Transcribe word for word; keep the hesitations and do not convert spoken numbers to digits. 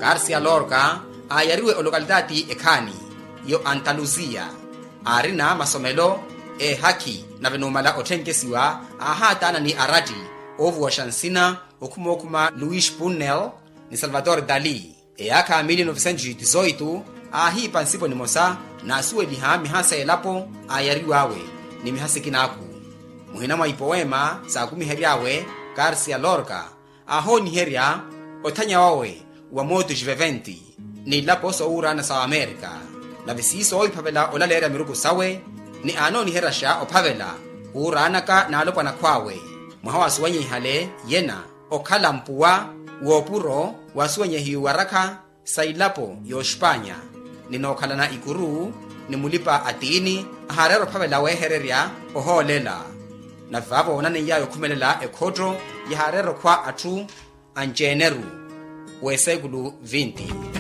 Garcia lorca aayariwe olokalitati ekhaani yo antalusia, aarina masomelo eehakhi nave numala otthenkkesiwa aahaataana ni aratti oovuwaxa nsina okhuma okhuma luis punnel ni salvador dali. Eyaakha mili novecentos e dezoito aahiipa nsipo nimosa naasuweliha mihasa elapo aayariw'awe ni mihasa ekinaaku. Muhina mwa ipoweema saakumihery'awe, garcia lorca aahooniherya othanya wawe wa motus viventi n'ilapo soowuuraana sa amerika. Nave siiso oophavela olaleerya miruku sawe ni aanooniheryaxa ophavela wuuraanaka n'alopwana akhw'awe. Mwaha waasuwenyehihale yena okhala mpuwa w'opuro waasuwenyehiwe warakha sa ilapo y'oxpanya ni nookhalana ikuru ni mulipa atiini ahaareera ophavela weehererya ohoolela. Nave vaavo oonaneiyawe okhumelela ekhotto yahaareera okhwa atthu anceneru w'esekulu vinti.